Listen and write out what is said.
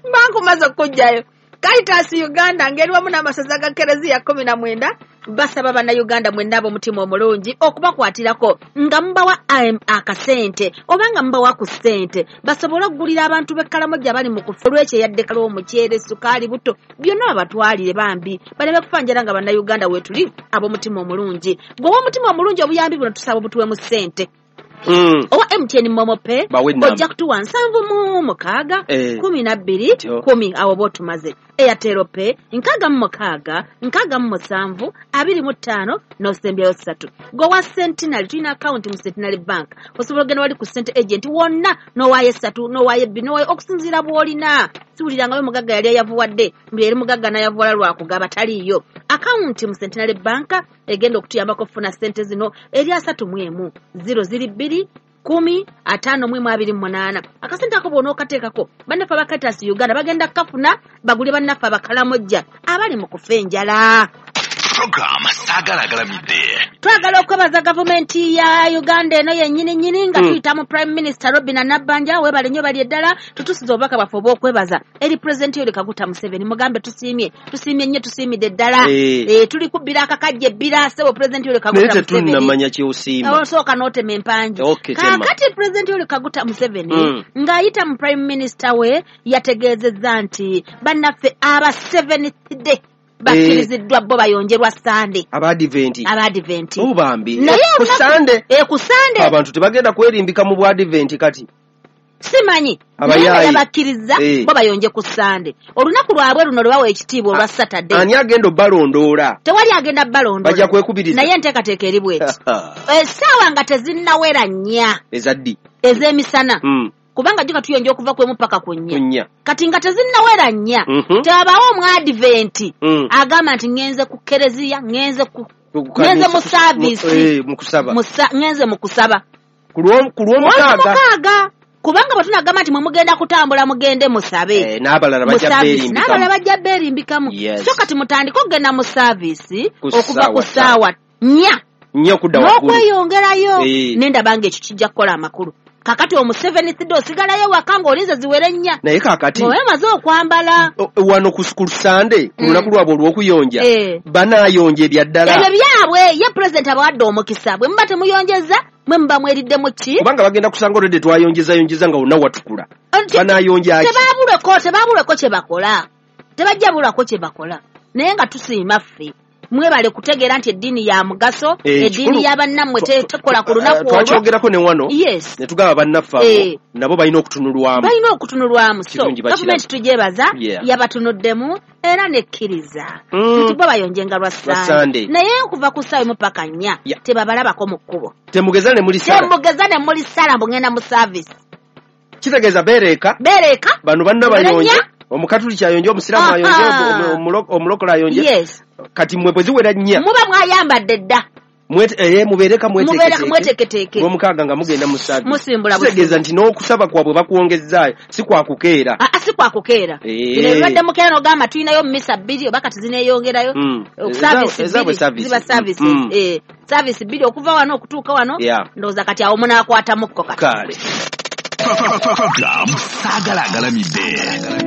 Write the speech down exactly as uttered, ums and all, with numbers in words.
Mbankumaze okujjayo. Caritas Uganda ngeri wamu n'amasaza ga Kereziya kkumi na mwenda basaba bannayuganda mwenna ab'omutima omulungi okubakwatirako nga mubawa akasente oba nga mubawa ku ssente basobole okugulira abantu b'e Karamoja bali mu kufa olw'ekyeyaddeka omuceere, sukaali, buto byonna babatwalire bambi baleme kufa njala nga bannayuganda weetuli ab'omutima omulungi. Gwe ow'omutima omulungi obuyambi buno tusaba obutuwemu ssente. Mm. Owa M T N Momo Pay ojja kutuwa nsanvu mu mukaaga eh. kumi na bbiri kumi awo bw'otumaze. Airtel Pay nkaaga mu mukaaga nkaaga mu musanvu abiri mu ttaano n'osembyayo ssatu. Gwe wa Centenary tulina akawunti mu Centenary Bank osobola ogenda wali ku Cent agent wonna n'owaayo essatu n'owaayo ebbiri n'owaayo okusinziira bw'olina. Siwulirangayo mugagga yali ayavuwadde mbu yali mugagga n'ayavuwala lwakugaba taliiyo. Akawunti mu Centenary Bank egenda okutuyambako okufuna ssente zino eri asatu mu emu ziro ziri bbiri kumi ataano mu emu abiri mu munaana. Akasente ako bw'onookateekako bannaffe aba Caritas Uganda bagenda kukafuna bagule bannaffe abakalamojja abali mu kufa enjala. Program Saagala Agalamidde. Twagala okwebaza gavumenti ya Uganda eno yennyini nnyini nga Mm. tuyita mu Prime Minister Robinah Nabbanja weebale nnyo bali eddala tutusiza obubaka bwaffe obw'okwebaza eri Pulezidenti Yoweri Kaguta Museveni mugambe tusiimye tusiimye nnyo tusiimidde ddala. Eh. Eh, tuli kubbira akakajja ebbira ssebo Pulezidenti Yoweri Naye Kaguta Museveni. tetunnamanya ky'osiima. Osooka n'otema empangi. Okay, tema. Kaakati Pulezidenti Yoweri Kaguta Museveni Mm. ng'ayita mu Prime Minister we yategeezezza nti bannaffe aba Seventh Day bakkiriziddwa bo bayonjerwa Sande. Abadiventi. Abadiventi. Obambi. Naye Ku olunaku- Sande. Eh, ku Sande. Abantu tebagenda kwerimbika mu bwadiventi kati. Simanyi. Abayaayi. Naye nga yabakkiriza Eh. bo bayonje ku Sande. Olunaku lwabwe luno lwe bawa ekitiibwa olwa Saturday. Ani agenda obbalondoola? Tewali agenda bbalondoola. Bajja kwekubiriza. Naye enteekateeka eri bw'eti. Essaawa nga tezinnawera nnya. Eza ddi? Ez'emisana. Mm. Kubanga jjuka tuyonja okuva ku emu paka ku nnya. Ku nnya. Kati nga tezinnawera nnya. Mhm. Tewabaawo omwadiventi Mm. agamba nti ŋŋenze ku kereziya, ŋŋenze ku Ku kanisa, ŋŋenze mu saaviisi. Mu, eh, mu kusaba. Mu sa-, ŋŋenze mu kusaba. Ku lw'omu-, ku lw'omukaaga. Lw'omukaaga. Kubanga bwe tunagamba nti mwe mugenda kutambula mugende musabe. Eh, n'abalala Mu bajja service. beerimbikamu. N'abalala bajja beerimbikamu. Yes. So kati mutandike okugenda mu saaviisi Ku okuva ku ssaawa ssaawa nnya. Nnya okudda waggulu. N'okweyongerayo. Eh. Ne ndaba ng'ekyo kijja kukola amakulu. Kakati omu Seventh Day osigalayo waka ng'olinze ziwere nnya. Naye kaakati Ng'oba omaze okwambala. O-, wano ku, ku Sande, ku Mm. lunaku lwabwe olw'okuyonja, Eh. banaayonja ebya ddala. Ebyo byabwe, ye Pulezidenti abawadde omukisa. Bwe muba temuyonjeza, mwe muba mweriddemu ki? Kubanga bagenda kusanga olwedde twayonjezayonjeza nga wonna watukula. Anti Banaayonja ki? Tebaabulweko, tebaabulweko kye bakola. Tebajja bulwako kye bakola. Naye nga tusiima ffe. Mwebale kutegeera nti eddiini ya mugaso, Eh, eddiini kikulu. ya bannammwe te-, tekola ku Eh, lunaku olwo. twakyogerako ne wano. Yes. Ne tugamba bannaffe abo, Eh. nabo balina okutunulwamu. Balina okutunulwamu. So, Kirungi bakirabe. gavumenti tugyebaza, Yeah. yabatunuddemu era nekkiriza. Mm. Nti bo bayonjenga lwa Lwa Sande. Sande. Naye okuva ku ssaawa emu paka nnya, Yeah. tebabalabako mu kkubo. Temugeza ne muli ssala. Temugeza ne muli ssala mbu ngenda mu service. Kitegeeza beereeka. Beereeka. Bano banna bayonje. Nnya. Omukatuliki ayonje, omusiraamu Aha. ayonje, omu-, omulo-, omulokole ayonje. Yes. Kati mmwe bwe ziwera nnya. Muba mwayambadde dda. Mwete-, eh, mubeereka Mubeereka mweteeketeeke. mweteeketeeke. Lw'omukaaga nga mugenda mu service. Musimbula Kitegeeza busimbula. nti n'okusaba kwabwe bakwongezzaayo, si kwa kukeera. Ah, ah, si kwa kukeera. Eh. Bino ebibadde mukeera n'ogamba tulinayo mmisa bbiri oba kati zineeyongerayo. Mm. Eh, service Ezaabwe, ezaabwe bbiri, service. ziba services. Mm. Eh, service bbiri okuva wano okutuuka wano. Yeah. Ndowooza kati awo munaakwatamuko kati. Kale. Program Saagala Agalamidde.